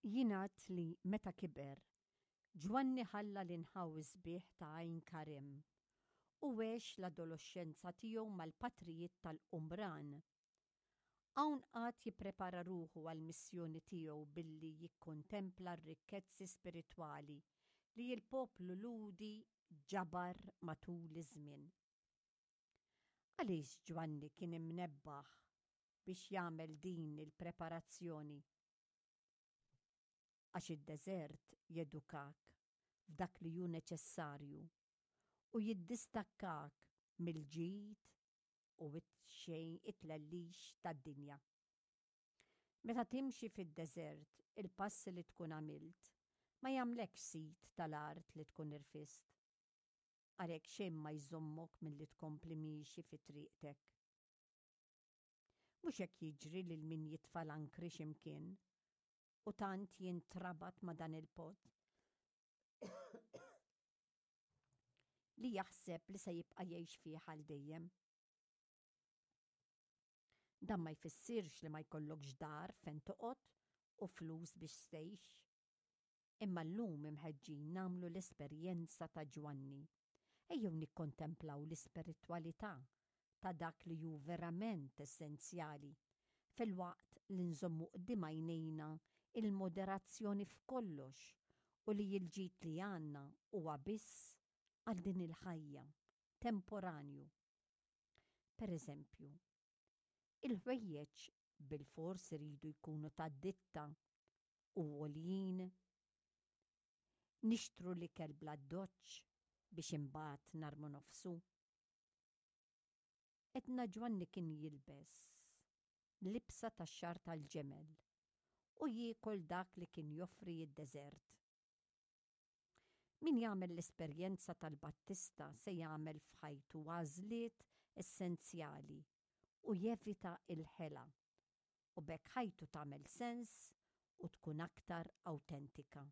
Jingħad li meta kiber, Ġwanni ħalla l-inħawi sbieħ ta' Għajn Karim u għex l-adoloxxenza tiegħu mal-patrijiet tal-Qumran. Hawn qagħad jipprepara ruħu għall-missjoni tiegħu billi jikkontempla r-rikkezzi spiritwali li l-poplu Lhudi ġabar matul iż-żmien. Għaliex Ġwanni kien imnebbaħ biex jagħmel din il-preparazzjoni? Għax id-deżert jedukak f'dak li hu neċessarju u jiddistakkak mill-ġid u t-xejn it-tlellix tad-dinja. Meta timxi fid-deżert il-passi li tkun għamilt ma jagħmlekx sid tal-art li tkun irfist. Għalhekk xejn ma jżommok milli tkompli miexi fi triqtek. Mhux hekk jiġri lil min jitfa' l-ankri xi mkien u tant jintrabat ma' dan il-post li jaħseb li se jibqa' jgħix fih għal dejjem. Dan ma jfissirx li ma jkollokx dar fejn toqgħod u flus biex tgħix. Imma llum imħeġġin nagħmlu l-esperjenza ta' Ġwanni. Ejjew nikkontemplaw l-ispiritwalità ta' dak li hu verament essenzjali, filwaqt li nżommu quddiem għajnejna l-moderazzjoni f'kollox u li l-ġid li għandna huwa biss għal din il-ħajja, temporanju. Per eżempju, il-ħwejjeġ bilfors iridu jkunu ta' ditta u għoljin? Nixtru l-ikel bl-addoċċ biex imbagħad narmu nofsu? Edna Ġwanni kien jilbes libsa tax-xagħar tal-ġemel u jiekol dak li kien joffri d-deżert. Min jagħmel l-esperjenza tal-Battista se jagħmel f'ħajtu għażliet essenzjali u jevita l-ħela, u b'hekk ħajtu tagħmel sens u tkun aktar awtentika.